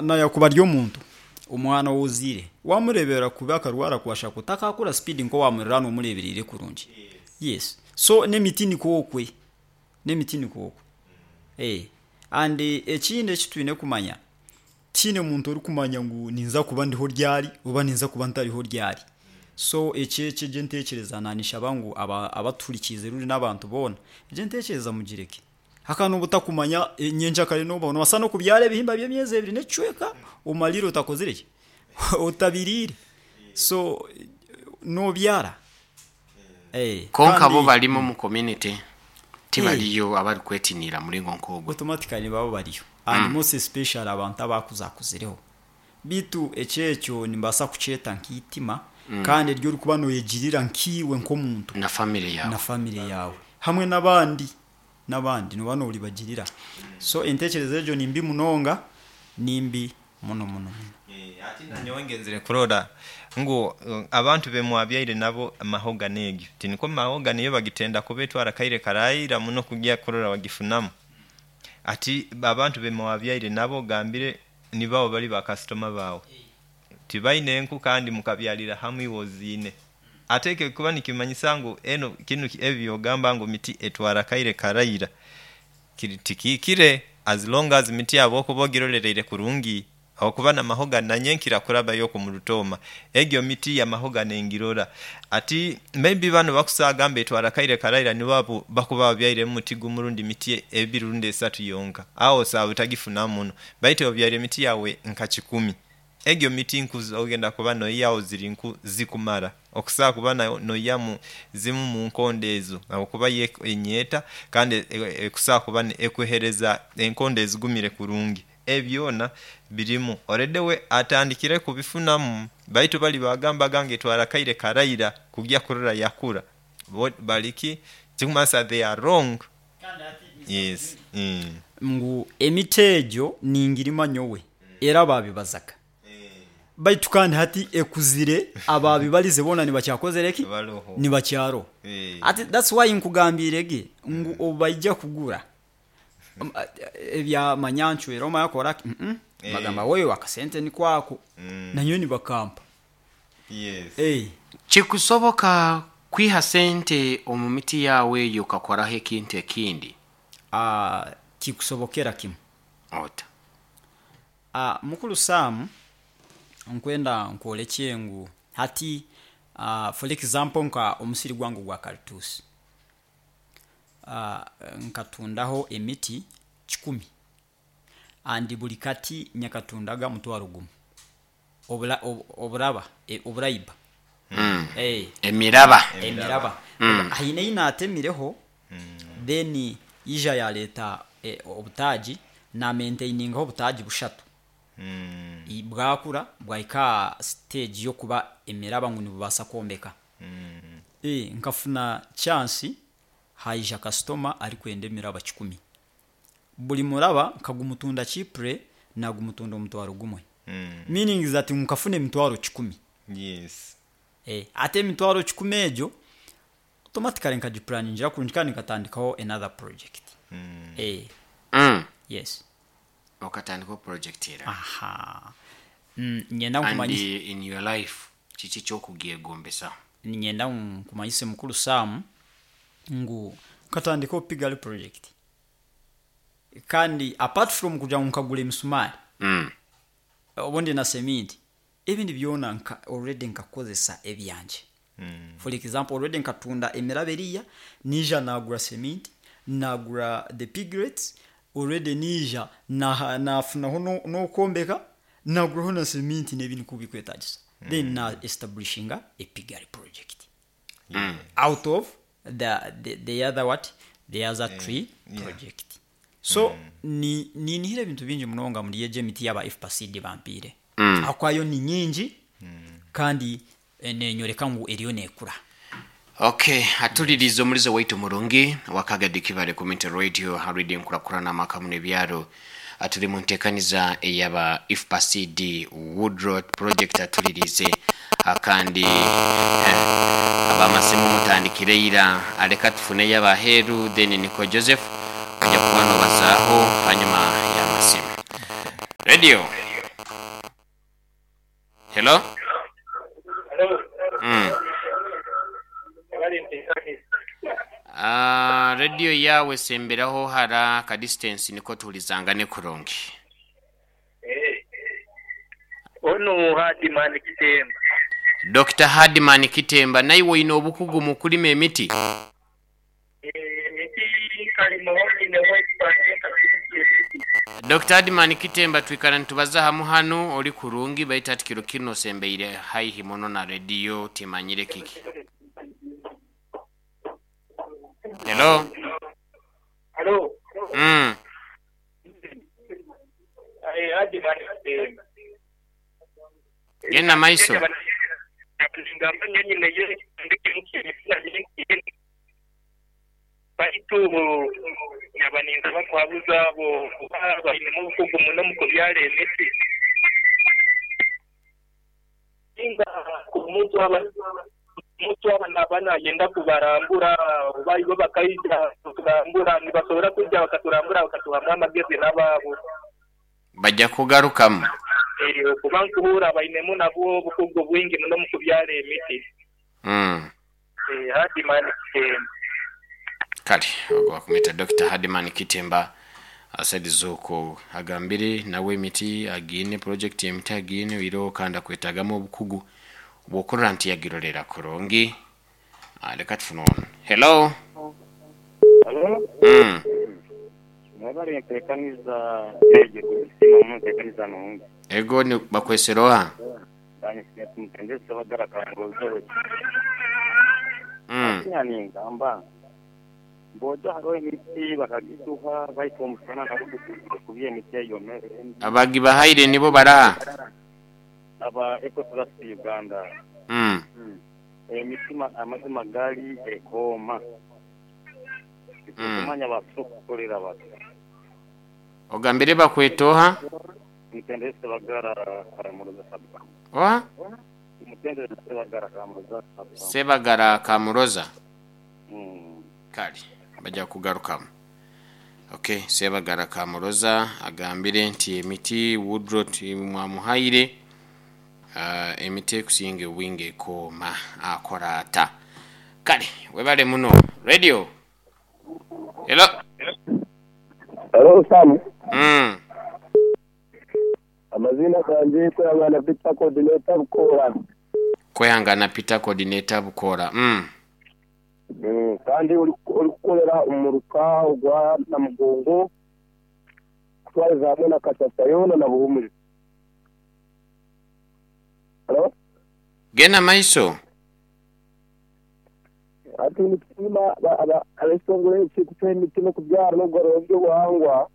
Nayakuba ari omuntu, omwana ou ozaire, wamureeberera kubi akarwara kwashakwo, takaakura sipiidi nk'owamuriraanwa omureebereire kurungi. Yes. So n'emiti nikwo okwe. N'emiti nikwo okwe. And ekindi eki twine kumanya, tihaine muntu orikumanya ngu ninza kuba ndiho ryari oba ninza kuba ntariho ryari. So ekyo ekyo egyo entekyereza naanishaba ngu abatuhurikiize rundi n'abantu boona, egyo entekyereza mugireke. Hakaba n'obu otakumanya nyenkyakare noobaho, noobaasa n'okubyara ebihimba by'emyezi ebiri n'ekicweka omariire otakozire ki? Otabiriire. So noobyara. Kwonka bo barimu omu community tibariyo abarikwetiniira muringo nk'ogwo. Automatically nibaba bariyo and most especially abantu abakuzakuzireho. Beitu ekyo ekyo nimbaasa kukyeta nk'eitima kandi eri orikuba nooyegirira nkaiwe nk'omuntu Na family yaawe. na family yaawe hamwe n'abandi n'abandi nooba nooribagirira. So enteekyereza egyo ni mbi munonga, ni mbi muno muno muno. Hati nanyowe ngenzire kurora ngu abantu be mwabyaire nabo mahogany egyo tinikwo mahogany yo bagitenda kuba etwara akaire karaira muno kugya kurora wagifunamu. Hati abantu be mwabyaire nabo ogambire nibabo bari ba kasitoma baawe. Tibaine enku kandi mukabyarira hamu iwe oziine. Ate ekyo kikuba nikimanyisa ngu eno kinu ebi byogamba ngu miti etwara akaire karaira kiri tikihikire as long as miti ahabwokuba ogirolereire kurungi ahabwokuba na mahogany nanye nkira kurabayo oku murutooma egyo miti ya mahogany ngirora. Ati maybe banu abakusaaga mbu etwara akaire karaira nibo abo bakuba babyairemu muti gumu rundi miti ebiri rundi esatu yonka agho osaba otagifunamu muno baitu obyaire emiti yawe nka kikumi Egyo miti nku z'ogenda kuba noihaho ziri nku zikumara. Okusobola kuba noihamu zimu mu nkondo ezo ahabw'okuba yo enyeeta kandi ekusobola kuba ekuhereza enkondo ezigumire kurungi. Ebyo byona birimu. Already we atandikire kubifunamu baitu bali bagambaga ngu etwara akaire karaira kugya kurora yakura. Bo bali ki? Ekikumanyisa they are wrong. Yes. Ngu emiti egyo ningirima nyowe, era baabibazaga. Baitu kandi hati ekuzire, abaabibarize boona nibakyakozire ki? Nibakyaroho. Hati that's why nkugambiire ge ngu obu baija kugura ebya manya ncwera omanya kora ki, bagamba wewe akasente niko ako, nanyowe nibakampa. Kikusoboka kwiha sente omu miti yaawe eyo okakoraho ekintu ekindi? Kikusobokera kimu. Ota? Mukulu Sam, nkwenda nkworekye ngu hati for example nka omusiri gwange ogwa karituusi, nkatundaho emiti kikumi and buri kati nyakatundaga mutwaro gumu. Oburaba, oburaiba. Emiraba. Emiraba. Haine ei naatemireho then yaija yaareeta obutaagi, naamaintainingaho obutaagi bushatu. Bwakura bwahika aha siteegi y'okuba emiraba ngu nibubaasa kwombeka. Nkafuna chance haija kasitoma arikwenda emiraba kikumi. Buri muraba nkagumutunda cheaply nagumutunda omutwaro gumwe. Meaning that ngu nkafuna emitwaro kikumi. Yes. Hati emitwaro kikumi egyo automatically nkagipuraningira kurungi kandi nkatandikaho another project. Yes. Okatandikaho project eraba. Aha. Niinyenda And nkumanyise. in your life kiki eky'okugyegombesa? Niinyenda nkumanyise mukuru Sam ngu nkatandikaho piggery project. Kandi apart from kugira ngu nkagura emisumaari obundi na seminti, ebindi byona nka already nkakozesa ebyangye. For example already nkatunda emiraba eriya, naija nagura seminti, nagura the piglets, already naija nafunaho n'okwombeka, naguraho na seminti n'ebindi nk'oku birikwetagisa. Then na establishinga a piggery project. Out of the the other what the other tree project so ni ninihira ebintu bingi munonga omuri egyo emiti yaba FPACD bampiire ahakuba yo ni nyingi kandi nenyoreka ngu eriyo nekura. Ok, atuliriize omulizi waitu murungi owa Kagadi Kibale Community Radio ha Radio Enkurakurana Amaka Muno Ebyaro. Turi mu ntekaniza eyaba IFPA-CD Woodrot Project atuliriize kandi abamasimu mutandikire ira aleka tufuneyo abaheeru then niko Joseph oja kuba nobazaaho hanyuma ya masimu. Radio. Hello. Radio yawe semberaho hara ka distance niko tuhulizangane kurungi. Onu Hadiman Kitemba. Dr. Hadiman Kitemba, naiwe oine obukugu mu kulima emiti? Dr. Hadiman Kitemba, twikara nitubaza hamu hanu oli kurungi baitu ati kiro kino sembeire haihi muno na radio timanyire kiki. Hello. Hello. Hadiman Kitemba. Genda maiso. Baitu abaninza bakwabuza abo bainemu obukugu muno mu kubyala emiti. Inga omuntu aba naba nayenda kubarambura baibo bakaija kuturambura nibasobora kujja bakaturambura bakatuhamu amagezi n'abaabo. Bajja kugarukamu. Kuba nkuhura bainemu nabwo obukugu bwingi muno mu kubyala emiti. Hadiman Kitemba. Kale ogwa kumeta Dr. Hadiman Kitemba asaidizuko agambire nawe emiti agine project emiti agine wiro kanda kwetagamu obukugu bwokurora nti yagirolera kurungi. Leka tufune ono. Hello. Hello. Mwebale ntekaniza eje kusima mu ntekaniza nungi. Ego ni bakweseroha. Mtendese bagara kangozo. Yani ngamba bodo haro emiti bakagituha baitu omusana nakubye emiti eyomere. Abagibahaire nibo baraha. Aba Ecotrust Uganda. Emiti amazima gali ekoma. Kumanya basokolera batu. Ogambire bakwetoha? Mtendese bagara Kamuroza sabba. Oha? Mtendese bagara Kamuroza sabba. Sebagara Kamuroza. Kale bajja kugarukamu. Okay, Sebagara Kamuroza agambire nti emiti Woodrot mwamuhaire emiti ekusinga obwingi ekoma akora ata. Kale webale muno. Radio. Hello. Hello Sam. Amazina ganje Kwehangana Peter coordinator Bukora. Kwehangana Peter coordinator Bukora. Kandi uri kukorera umuruka ogwa na Mugongo kutwariza hamwe na Katasayona na Buhumuri. Hello? Gena maiso. Ati nitima abesongore ekikuta emitima kubyara n'obugoro bw'obuhangwa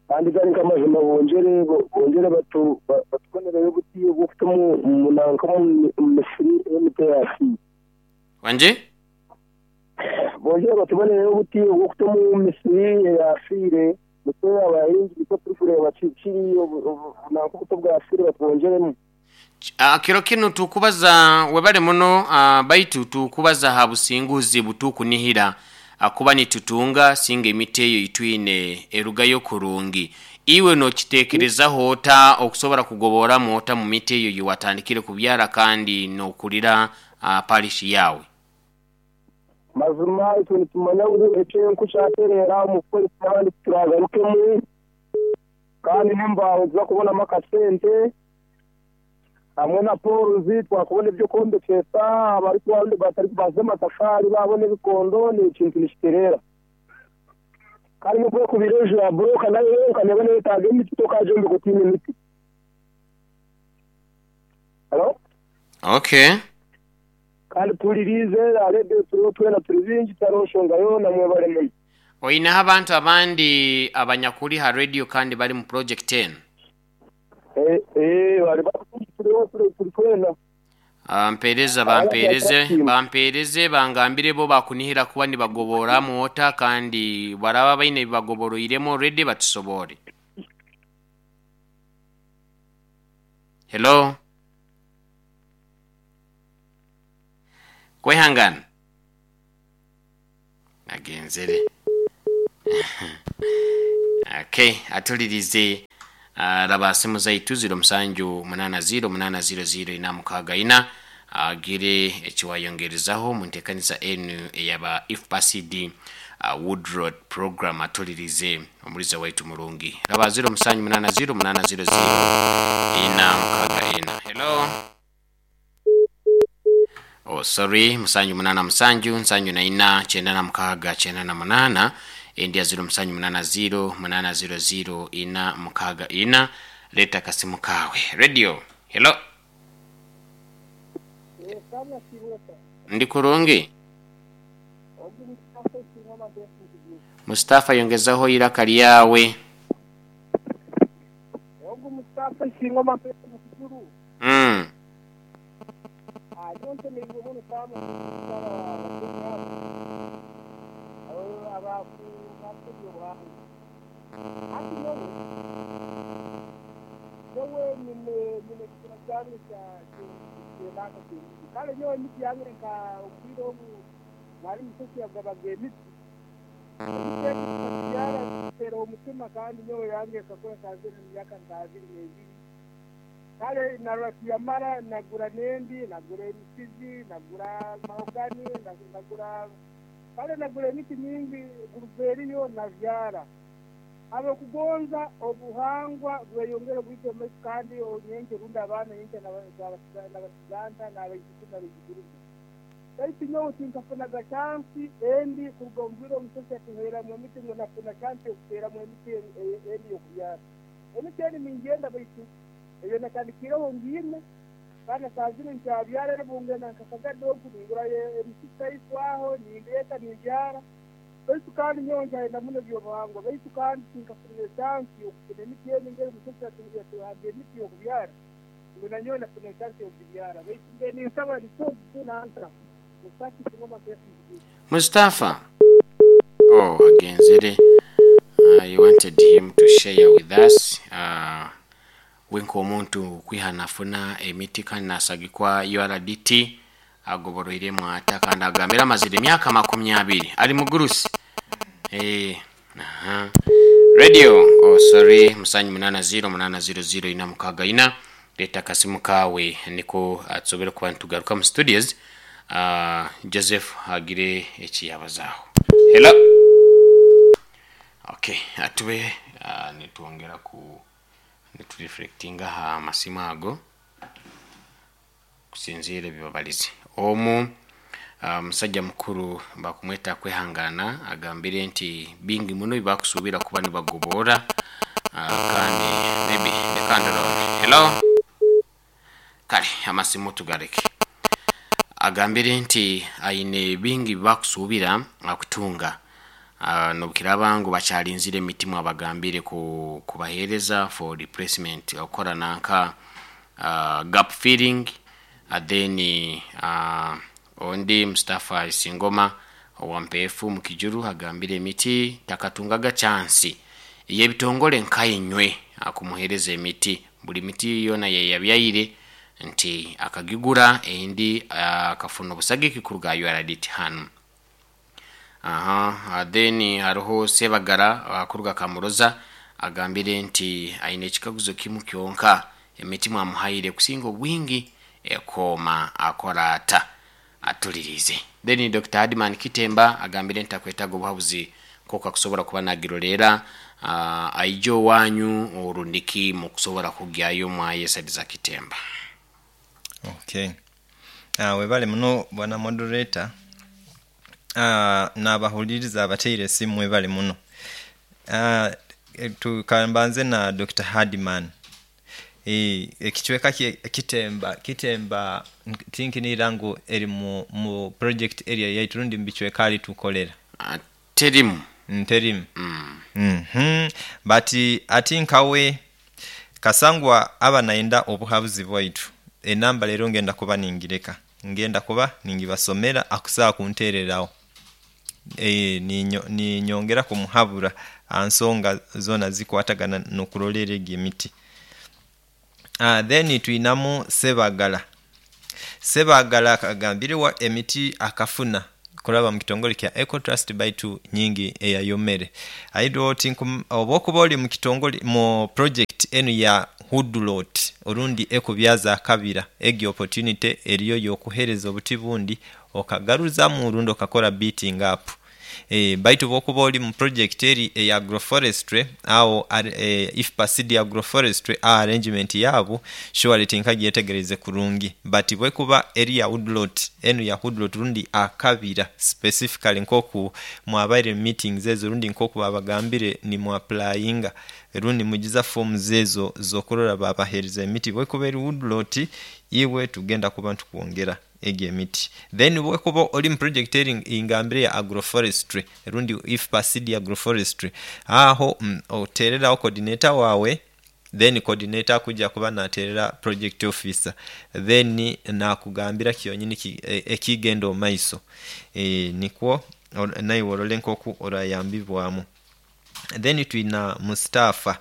kandi gari nk'amazima bongere batubonereyo obuti bw'okuta omunanka omu misiri y'emiti yafiire. Wanje? Bongere batubonereyo obuti bw'okuta omu misiri eyafiire nitwe abahingi nitwe turikureeba kiri obunanka obuto bwafiire batwongeremu. Kiro kinu tukubaza webale muno baitu tukubaza ha businguzi butukunihira akuba nitutunga singa emiti eyo itwine erugayo kurungi. Iwe nokitekerezaho ota okusobora kugoboramu ota mu miti eyo yiwatandikire kubyara kandi nokulira parish yawe? Mazima itwe nitumanya ngu ekyenku kyaterera omu kukoresa abandi turagarukemu kandi n'embaho tuza kubonamu akasente hamwe na poruzi twakubona ebyo kwombekesa abari batari kubaza amatafari babona ebikondo ni ekintu nikiterera. Kandi n'okuba kubira enju ya buroka nayo yonka neba neyetaaga emiti tokagyombeka otiine emiti. Hello? Okay. Kandi tulirize aredio turiho twena turi bingi tariho nshonga yoona mwebale muno. Oineho abantu abandi abanyakuri ha radio kandi bari mu project 10? Bari turiho turi twena. Bampereze bangambire bo bakunihira kuba nibagoboramu ota kandi baraba baine bibagoboroiremu already batusobore. Hello. Kwehangana. Agenzere. Okay, atulirize Raba simu zaitu 0780 800 464 agire ekiwayongerezaho mu nteekaniza enu eyaba IFPA-CD Woodroad program. Atulirize omuliza waitu murungi. Raba 0780 800 464. Hello. Oh, sorry, 77 74 96 98, endi ya 0780 800 464. Leta kasimu kawe. Radio. Hello. Ndi kurungi. Mustafa, yongezaho iraka lyawe. Kale narwatiyamara nagura nendi, nagura emisizi, nagura mahogani, nagura kale nagura emiti mingi guruveriyo navyara. Abakugonza obuhangwa bweyongera bwite kandi onyenke runda abaana yenke n'abasiganta n'abaijukuru n'abaijukuru. Baitu nyowe tinkafunaga chansi endi kuruga omu bwire omusosi atuheeramu emiti ngu nafuna chansi yokuteeramu emiti endi y'okubyara. Emiti eni ningenda baitu eyo natandikireho ngiine kandi saa zinu nkyabyara era bungenda nkakagada oku ningura emiti taiswaho nindeeta nimbyara. Baitu kandi nyowe nkyayenda muno ebyobuhangwa, baitu kandi tinkafunire chansi y'okufuna emiti eni ngeri omusosi atuhaga emiti y'okubyara ngu nanyowe nafuna chansi y'okugibyara. Baitu mbe ninsaba nikyokufuna nta. Mustafa. Oh, agenzere. You wanted him to share with us. Wenka omuntu kwiha nafuna emiti kandi nasagikwa URDT agoboroiremu ata kandi agambira amazire emyaka 20 ali mugurusi. Aha. Radio. Oh, sorry, 780 800 464. Leta kasimu kawe niko atsobere kuba nitugaruka mu studios. Joseph agire ekiyabazaho. Hello. Okay, atube nituongera ku nitureflectinga ha masimu ago kusinzira ebibabalizi. Omu musajja mukuru bakumweta kwehangana agambire nti bingi muno bibakusubira kuba nibagobora kandi maybe lekandorore. Hello. Kale amasimu tugareke. Agambire nti aine bingi bakusubira akutunga nobukiraba ngu bakyalinzire emitimu abagambire kubahereza for replacement okora nanka gap filling. Then ondi Mustafa Isingoma owa Mpefu mukijuru agambire emiti takatungaga chansi yebitongole nkayinywe akumuhereza emiti buli miti yona yeyabyaire nti akagigura endi akafuna obusagiki kuruga URDT hanu. Aha, then hariho Sebagara akuruga Kamuroza agambire nti aine ekikaguzo kimu kyonka emiti mwamuhaire kusinga obwingi ekoma akora ata atulirize. Then Dr. Hadman Kitemba agambire nti akwetaga obuhabuzi koka kusobora kuba nagirolera aijo wanyu orundiki mukusobora kugyayo mwayesadiza Kitemba. Okay. Webale muno bwana moderator. N'abahuliriza abateire esimu webale muno. Tukambanze na Dr. Hadman. Ekicweka Kitemba tinkinira ngu eri mu project area yaitu rundi mbicweka ali tukolera. Terimu. Terimu. But ati nkawe kasangwa aba naenda obuhabuzi bwaitu. Enamba leero ngenda kuba ningireka. Ngenda kuba ningibasomera akusaa kuntererawo. Ninyongera kumuhabura ansonga zona zikwatagana n'okurolera egi emiti. Then twinamu Sebagala. Sebagala akagambire wa emiti akafuna kuraba mu kitongole kya Eco Trust baitu nyingi eyayomere. Aido oba okuba oli mu kitongole mu project enu ya woodlot orundi ekubyaza akabira, egyo opportunity eriyo y'okuheereza obuti bundi okagaruzamu rundi okakora beating up. Baitu bwokuba ori mu project eri eya agroforestry aho IFPA seed agroforestry aho arrangement yaabo surely tinkagyetegereize kurungi, but bwekuba eri ya woodlot, enu ya woodlot rundi akabira specifically nk'oku mwabaire mu meetings ezo rundi nk'oku babagambire nimu applyinga rundi nimwijuza forms ezo z'okurora babaheereza emiti, bwekuba eri woodlot iwe tugenda kuba nitukwongera egyo emiti. Then bwekuba ori mu project eri ngambire ya agroforestry rundi IFPA seed agroforestry, aho oteereraho coordinator waawe, then coordinator akujja kuba nateerera project officer, then nakugambira kyonyini ekigenda omu maiso. Nikwo naiwe orole nk'oku orayambibwamu. Then twina Mustafa.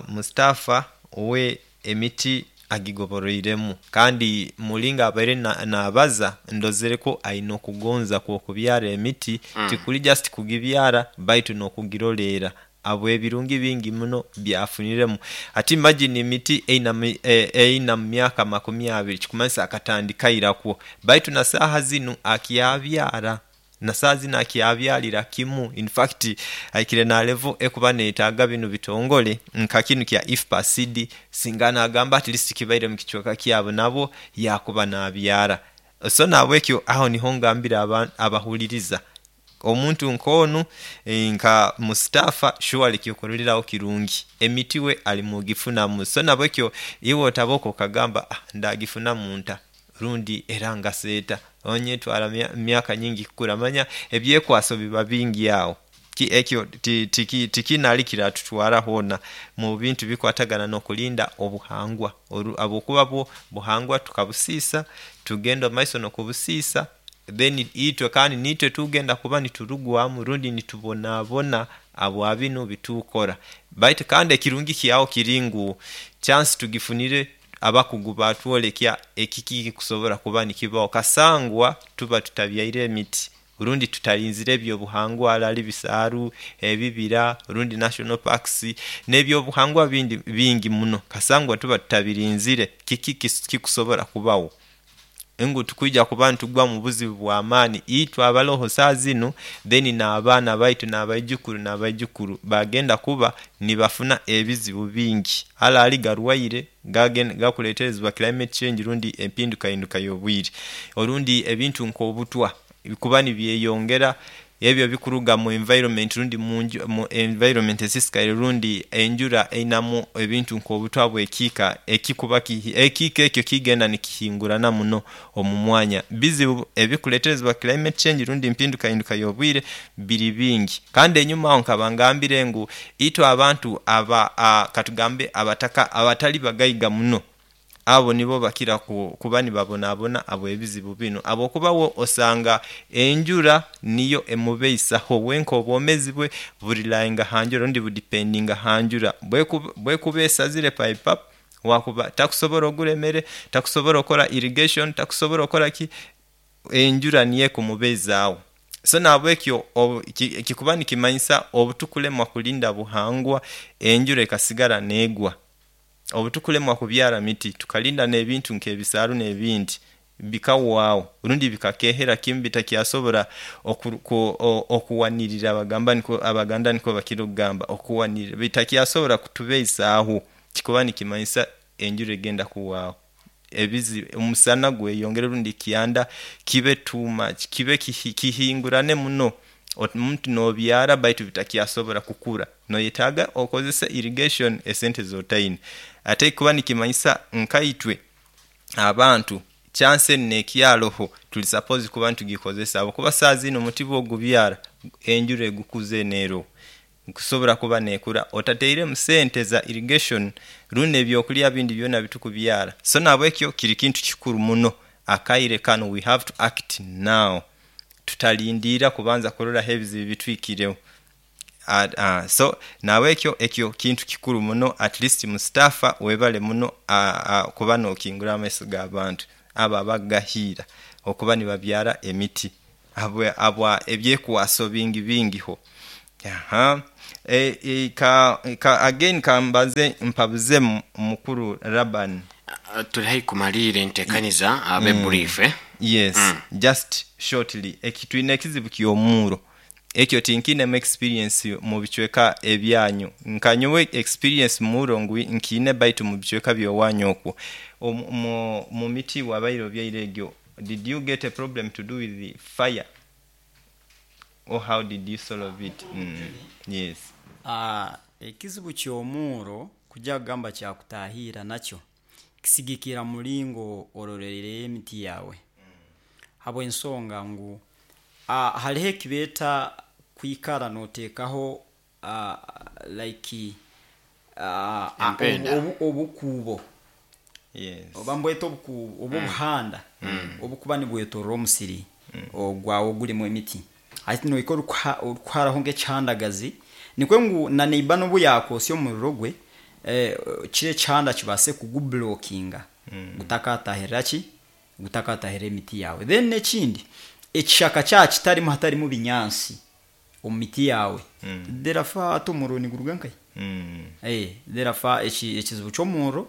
Mustafa we emiti agigoboroiremu, kandi mulinga abaire nabaza ndozereko aine okugonza kw'okubyara emiti. Tikuli just kugibyara baitu n'okugiroleera habw'ebirungi bingi muno byafuniremu. Ati imagine emiti eina mu myaka 20, kikumanyisa akatandika irakwo, baitu na saaha zinu akyabyara, na saaha zinu akyabyarira kimu. In fact ahikire na level ekuba neyetaaga binu bitongole nka kinu kya IFPA seed, singa nagamba at least kibaire mu kicweka kyabo nabo yakuba nabyara. So nahabwekyo aho niho ngambira abahuliriza omuntu nk'onu nka Mustafa surely kyokuroreraho kirungi, emiti we ali mugifunamu. So nahabwekyo iwe otaboka okagamba ndagifunamu nta rundi era ngasa eta, onyetwara myaka nyingi kukura, manya ebyekwaso biba bingi aho. Ekyo tikiine kiratutwara hoona mu bintu bikwatagana n'okulinda obuhangwa, habwokuba bwo buhangwa tukabusiisa, tugenda omu maiso n'okubusiisa, then itwe kandi niitwe tugenda kuba niturugwamu rundi nitubonabona habwa binu bitukora. Baitu kandi ekirungi kyaho kiri ngu chance tugifunire, abakugu batwolekya ekiki ekikusobora kuba nikibaho kasangwa tuba tutabyaire emiti rundi tutarinzire ebyobuhangwa arali bisaaru, ebibira rundi national parks n'ebyobuhangwa bindi bingi muno, kasangwa tuba tutabirinzire kiki kikusobora kubaho? Ngu tukwija kuba nitugwa mu buzibu bw'amaani itwe abaroho saaha zinu, then n'abaana baitu n'abaijukuru n'abaijukuru bagenda kuba nibafuna ebizibu bingi arali garwaire gakuleeterezebwa climate change rundi empindukahinduka y'obwire, orundi ebintu nk'obutwa bikuba nibyeyongera, ebyo bikuruga mu environment rundi mu environment esisikaire rundi enjura einamu ebintu nk'obutwa bw'ekiika ekikuba ekiika ekyo kigenda nikihingurana muno omu mwanya. Bizibu ebikuleeterezebwa climate change rundi empindukahinduka y'obwire biri bingi. Kandi enyuma aho nkaba ngambire ngu itwe abantu aba katugambe abataka abatali bagaiga muno, abo nibo bakira kuba nibabonabona habw'ebizibu binu, habwokuba we osanga enjura niyo emubeisaho wenka, obwomezi bwe burirayinga ha njura rundi budipendinga ha njura. Bwekuba esazire pipe up, wakuba takusobora ogura emere, takusobora okora irrigation, takusobora okora ki, enjura niyo ekumubezaaho. So nahabwekyo kikuba nikimanyisa obutukulemwa kulinda buhangwa, enjura ekasigara neegwa, obutukulemwa kubyara miti tukalinda n'ebintu nk'ebisaaru n'ebindi bikahwaho rundi bikakehera kimu bitakyasobora okuwanirira, bagamba nikwo Abaganda nikwo bakira okugamba okuwanirira, bitakyasobora kutubeisaaho, kikuba nikimanyisa enjura egenda kuhwaho, ebizibu omusana gweyongere rundi ekyanda kibe too much, kibe kihingurane muno, omuntu nobyara baitu bitakyasobora kukura, noyetaaga okozese irrigation esente z'otaine. Ate kikuba nikimanyisa nkaitwe abantu chance enu nekyaroho tuli supposed kuba nitugikozesa, habwokuba saaha zinu omuti bwogubyara enjura egukuza enu eroho, nkusobora kuba nekura otatairemu sente za irrigation rundi n'ebyokurya bindi byona bitukubyara. So nahabwekyo kiri kintu kikuru muno akaire kanu, we have to act now, tutalindiira kubanza kuroraho ebizibu bituhikireho. So nahabwekyo ekyo kintu kikuru muno, at least Mustafa webale muno kuba nokingura amaiso g'abantu abo abagahiira okuba nibabyara emiti habwa ebyekwaso bingi bingiho. Ka again kambaze mpabuze mukuru Laban. Tuli haihi kumalira entekaniza, abe brief, eh? Yes, just shortly, twine ekizibu ky'omuuro. Ekyo tinkiinemu experience mu bicweka ebyanyu. Nka nyowe experience muuro ngu nkiine, baitu mu bicweka by'owanyu okwo mu miti wabaire obyaire egyo, did you get a problem to do with the fire or how did you solve it? Yes. Ekizibu ky'omuuro kujya kugamba kyakutahiira, nakyo kisigikira mulingo orolerere emiti yawe, habw'ensonga ngu hariho ekibeeta kwikara noteekaho like Empenda. Obukuubo oba mbweta obukuubo oba obuhanda obukuba nibwetorora omusiri ogwawe ogurimu emiti. Hati nohika orikuharaho nk'ekihandagazi, nikwe ngu na neighbor n'obu yakosya omuriro gwe, kiri ekihanda kibaase kugublockinga gutakatahirira ki, gutakatahirira emiti yawe. Then n'ekindi, ekishaka kyaba kitarimu, hatarimu binyaasi omu miti yawe, therefore hati omuriro niguruga nkahi? Therefore ekizibu ky'omuriro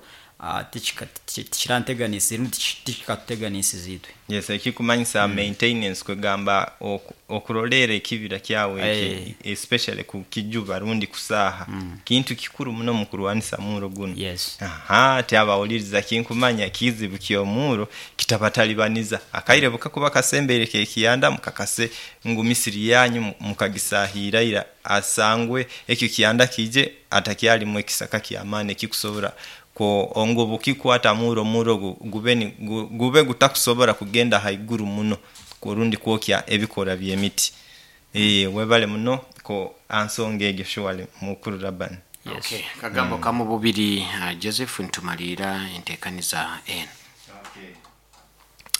tikiranteganisize rundi tikikatuteganisize itwe. Yes, ekikumanyisa maintenance, kwegamba okurolera ekibira kyawe eki, especially kukijuba rundi kusaaha, kintu kikuru muno mu kurwanisa muuro guno. Yes. Aha, tyabawuliriza, kinkumanya kizibu ky'omuuro kitabatalibaniza. Akaire bukakuba kasembeire kekiyanda, mukakase ngu misiri yanyu mukagisahiraira, asangwe ekyo kiyanda kije atakyalimu ekisaka kyamaani ekikusobora ko ngu bukikwata muuro, muuro gube gutakusobora kugenda haiguru muno rundi kwokya ebikora by'emiti. Webale muno ko ansonga egyo, surely mukuru Laban. Yes. Okay, kagambo kamu bubiri, Joseph, ntumalira entekaniza eno.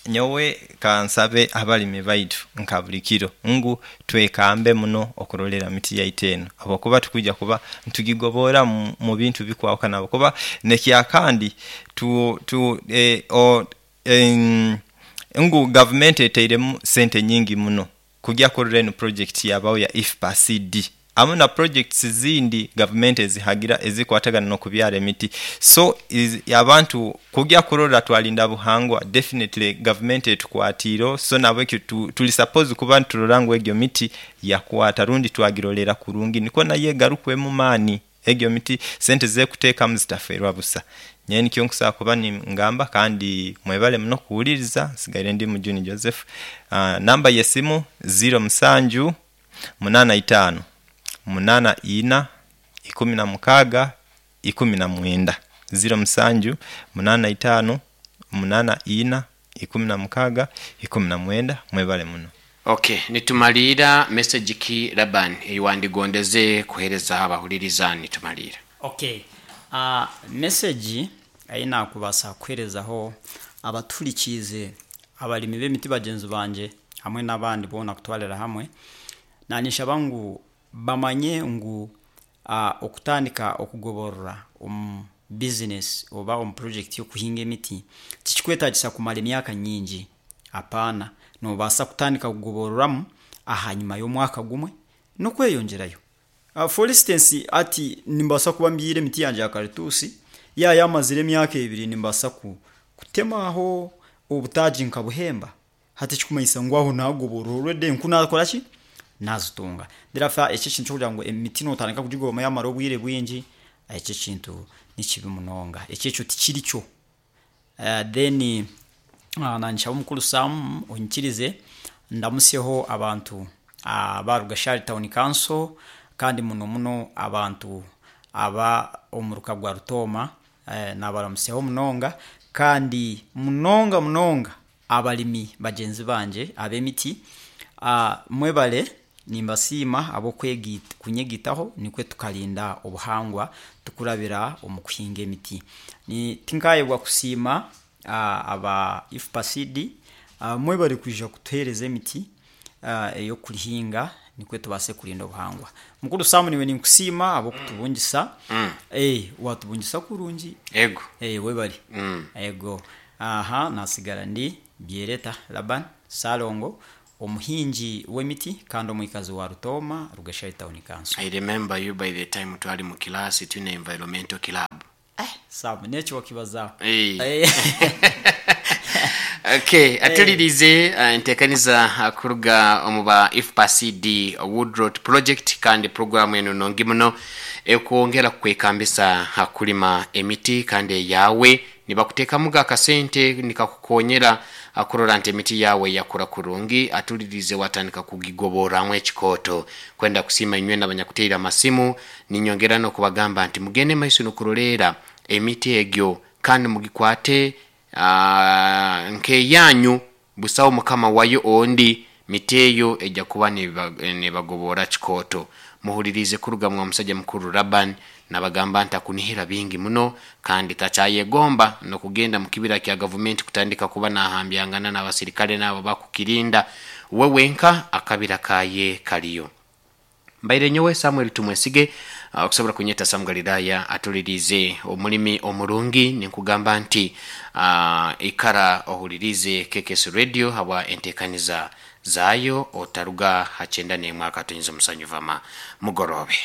Nyowe kansabe abalimi baitu nka buli kiro ngu twekambe muno okurolera miti yaitu eno, habwokuba tukwija kuba ntugigobora mu bintu bikwahukana, habwokuba nekyakandi tu, tu, o, ngu gavumenti eteiremu sente nyingi muno kujya kurora eno project yabaho ya IFPA-CD amu na projects zindi gavumenti ezihagira ezikwatagana n'okubyara emiti. So abantu kujya kurora twalinda buhangwa, definitely gavumenti etukwatiire. So nabwekyo tuli suppose kuba niturora ngu egyo miti yakwata rundi twagirolera kurungi, nikwo nayo egarukwemu maani. Egyo miti sente zekuteekamu zitaferwa busa. Nyowe nikyo nkusobola kuba ningamba, kandi mwebale muno kuwuliriza. Nsigaire ndi Mujuni Joseph. Namba y'esimu 07 85 84 16 19, 07 85 84 16 19. Mwebale muno. Okay, nitumalira. Message ki, Laban, eyiwandigondeze kuhereza abahuliriza nitumalira? Okay, message ayi nakubasa kuherezaho abaturikiize, abalimi b'emiti bagyenzi bangye hamwe n'abandi boona kutwarira hamwe, nanishaba ngu bamanye ngu okutandika okugoborora omu business oba omu project y'okuhinga emiti tikikwetagisa kumara emyaka nyingi. Apaana, nobaasa kutandika kugobororamu ahanyuma y'omwaka gumwe n'okweyongyerayo. For instance, ati nimbaasa kuba mbyire emiti yangye ya karituusi yamazire emyaka 2, nimbaasa kutemaho obutaagi nkabuhemba. Hati ekikumanyisa ngu aho nagoborora already enku nakora ki, nazitunga. Therefore eki ekintu ky'okugira ngu emiti notandika kugigoma yamara obwire bwingi, ekyo ekintu nikibi munonga, ekyo tikiri kyo. Then nanshaba omukuru Sam onyikirize ndamusyeho abantu aba Rugashari Town Council, kandi muno muno abantu aba omuruka gwa Rutooma, nabaramusyaho munonga, kandi munonga munonga abalimi bagyenzi bangye ab'emiti. Mwebale, nimbasiima ahabw'okunyegitaho nikwe tukarinda obuhangwa tukurabira omu kuhinga emiti. Tinkayebwa kusiima aba IFPA-CD, mwebale kwija kutuhereza emiti ey'okurihinga nikwe tubaase kurinda obuhangwa. Mukuru Sam, niwe ninkusiima ahabw'okutubungisa, watubungisa kurungi. Ego. Webale. Ego. Aha nasigara ndi Byereta Laban Salongo. Omuhingi w'emiti kandi omwikazi wa Rutooma, Rugeshari Town Council. I remember you by the time twali mu kilasi twine environmental club. Sam, nekyo wakibazaho. Okay, atulirize entekaniza kuruga omu ba IFPA-CD Woodrot Project, kandi programu eno nungi muno ekwongera kukwekambisa kulima emiti kandi eyawe nibakuteekamuga akasente nikakukonyera kurora nti emiti yawe yakura kurungi. Atulirize watandika kugigoboramu ekikooto. Kwenda kusiima inywe n'abanyakuteera amasimu, ninyongera n'okubagamba nti mugende maiso n'okuroleera emiti egyo kandi mugikwate nk'eyanyu, busaho mukama wayo ondi. Miti eyo ejja kuba nibagobora kikooto. Muhulirize kuruga mwa musajja mukuru Laban, nabagamba nti akunihira bingi muno kandi takyayegomba n'okugenda mu kibira kya gavumenti kutandika kuba nahambyangana n'abasirikale n'abo bakukirinda. We wenka akabira kaye kaliyo. Mbaire nyowe Samuel Tumwesige, okusobola kunyeta Sam Galilaya. Atulirize omulimi omurungi, ninkugamba nti ikara ohulirize KKS Radio habwa entekaniza zaayo, otaruga ha 91.7 mugorobe.